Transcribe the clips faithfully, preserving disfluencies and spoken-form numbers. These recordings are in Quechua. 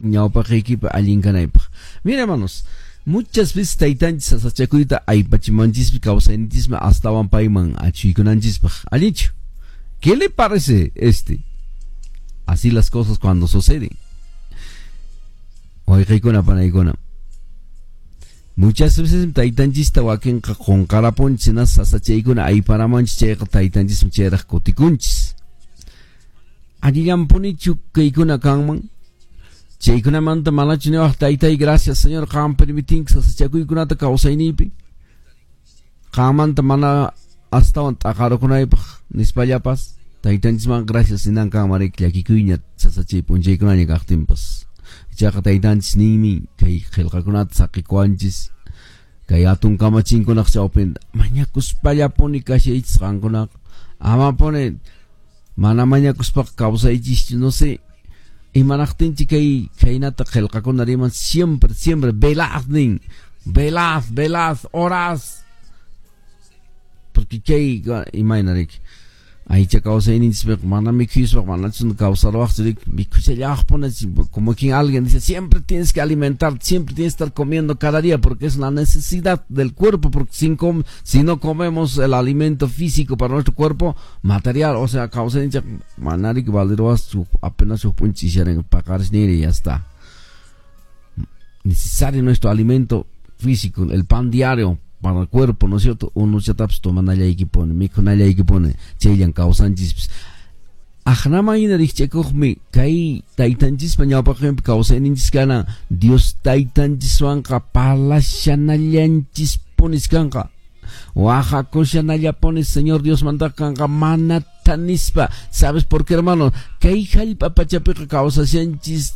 ñawpaqiykipi allin kanaypaq. Mira, hermanos, muchas veces taytanchis sasachakuyta aypachimanchispi kawsayninchismi astawan payman achuykunanchispaq. Allinchu? ¿Qué le parece este? Así las cosas cuando suceden. Wayqiykuna panaykuna. Muchas veces taytanchista wakinqa qunqarapunchis na sasachaykuna ayparamanchis chayqa taytanchismi chayraq kutikunchis. Allillanpunichu kaykuna kanman? Chaykunamanta manachu niwaq taytay gracias Señor qam permitinki sasachakuykunata kawsayniypi. Qammanta mana astawan t'aqarukunaypaq nispallapas taytanchisman gracias ninan kanman riki llakikuyña sasachay p'unchaykunaña kaqtinpas. Ichaqa taytanchis ninmi kay qillqakunata saqikuwanchis kay hatun kamachinkunaq chawpinta mañakuspallapuni kashaychis qankunaqa amapuni mana mañakuspaqa kawsaychischu no sé imanaqtinchik kay khaynata qillqakuna riman siempre siempre velad nin velad velad orad porque kay imayna riki aycha kawsayninchispiqa mana mikhuyuspaqa manachu kawsaruwaqchu riki mikhushallaqpuni como quien alguien dice siempre tienes que alimentar, siempre tienes que estar comiendo cada día porque es una necesidad del cuerpo, porque sin com si no comemos el alimento físico para nuestro cuerpo material, o sea kawsayninchik mana riki valiruwaqchu apenas huk p'unchay paqarisniri y ya está. Necesario nuestro alimento físico, el pan diario para el cuerpo, ¿no es cierto? Unuchatapas tomanallaykipuni, mikhunallaykipuni, chayllan kawsanchispis. Aqnaman hina rikch'akuqmi kay taytanchispa ñawpaqinpi kawsayninchis kana Dios taytanchiswanqa parlashanallanchispunis kanqa. Waqakushanallapuni Señor Dios mantaqa kanqa mana tanispa. ¿Sabes por qué, hermano? Kay hallp'a pachapiqa kawsashanchis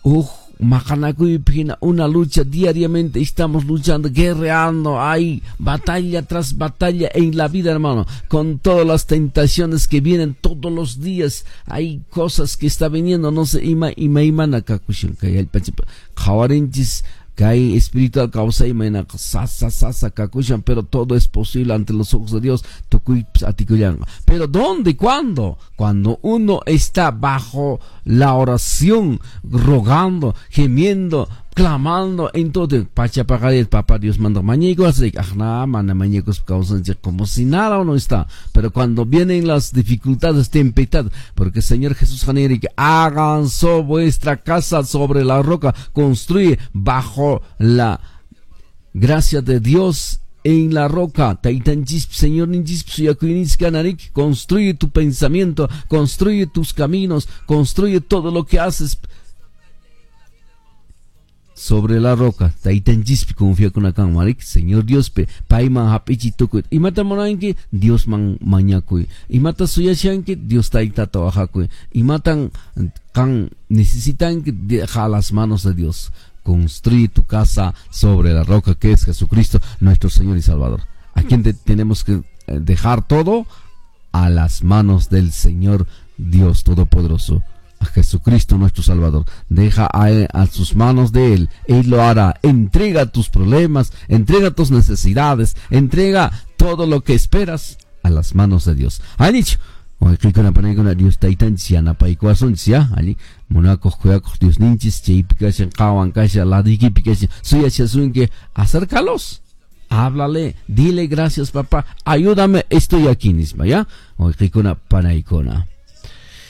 huk maqanakuypi hina una lucha diariamente estamos luchando, guerreando, hay batalla tras batalla en la vida, hermano, con todas las tentaciones que vienen todos los días, hay cosas que está viniendo, no sé, ima ima imana kakushan kay hallp'achapi qhawarinchis kay espiritual kawsayman sasa sasa kakushan, pero todo es posible ante los ojos de Dios, tukuypis atikullanqa. Pero ¿dónde? ¿Cuándo? Cuando uno está bajo la oración, rogando, gimiendo, clamando, entonces pachapaqarit papá Dios manda mañaykus aqna mana mañaykus kawsanchik como si nada uno está. Pero cuando vienen las dificultades, tempestades, porque el Señor Jesús que hagan so vuestra casa sobre la roca, construye bajo la gracia de Dios en la roca. Taytanchis, Señor ninchis, suyakuyninchis kanarik, construye tu pensamiento, construye tus caminos, construye todo lo que haces sobre la roca. Taytanchispi confiakuna kan marik, Señor Dios pe payman hap'ichiy tukuy. Imata munanki Diosman mañakuy. Imata suyashanki Dios taytata wajakuy. Imatan kan necesitanki deja las manos de Dios. Construye tu casa sobre la roca que es Jesucristo, nuestro Señor y Salvador. ¿A quién te tenemos que dejar todo? A las manos del Señor Dios Todopoderoso, a Jesucristo nuestro Salvador. Deja a, él, a sus manos de Él, Él lo hará. Entrega tus problemas, entrega tus necesidades, entrega todo lo que esperas a las manos de Dios. Allinchu, wayqiykuna panaykuna Dios taytanchis yanapaykuwasunchis ya allin munakuq khuyakuq Diosninchis chaypi kashan qhawan kashan laduykipi kashan suyashasunki acércalos, háblale, dile gracias papá, ayúdame, estoy aquí nispa ya wayqiykuna panaykuna.